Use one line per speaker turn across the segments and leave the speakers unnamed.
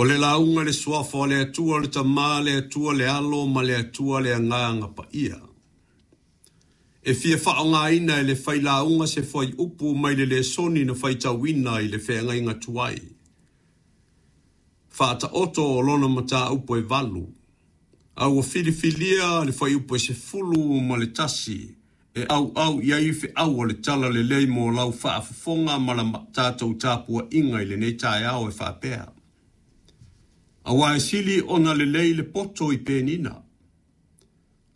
O le lauga i le Suafa o le Atua le Tama, le Atua le Alo ma le Atua le Agaga Paia. E fia faaaogaina e le failauga se fuaiupu mai le lesoni na faitauina i le feagaiga tuai. Faataoto o lona mataupu e 8, a ua filifilia le fuaiupu e 11 e auau i ai feau o le tala lelei mo lau faafofoga ma la tatou tapuaiga i lenei taeao e faapea. Aua e sili ona lelei le poto i penina,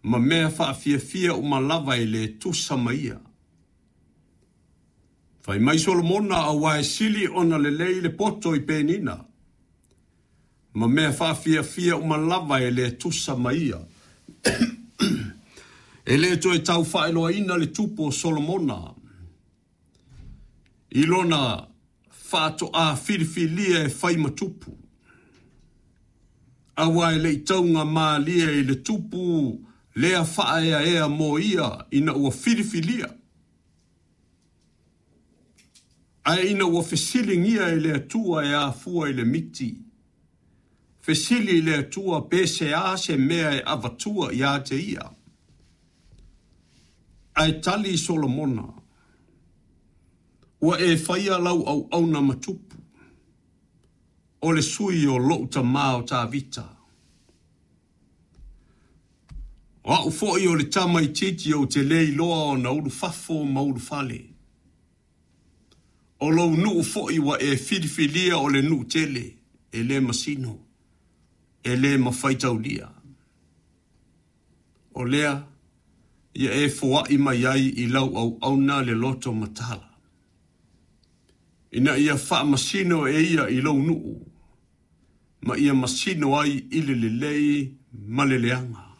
ma mea faafiafia uma lava e le tusa ma ia. Fai mai Solomona aua e sili ona lelei le poto i penina, ma mea faafiafia uma lava e le tusa ma ia. E le toe tau faailoaina le tupu o Solomona i lona faatoa filifilia e fai ma tupu. Aua e le i tauga malie i le tupu lea faaeaea mo ia ina ua filifilia. Ae ina ua fesiligia e le Atua e afua i le miti. Fesili i le Atua pe se a se mea e avatua ia te ia. Ae tali Solomona, ua e faia lau auauna ma tupu, o le sui o lou tamā o Tavita. O au foi o le tamaitiiti ou te le iloa ona ulufafo ma ulufale. O lou nuu foi ua e filifilia o le nuu tele, e le masino, e le mafaitaulia. O lea, ia e foai mai ai i lau auauna le loto matala, ina ia faamasino e ia i lou nuu, ma ia masino ai i le lelei ma le leaga.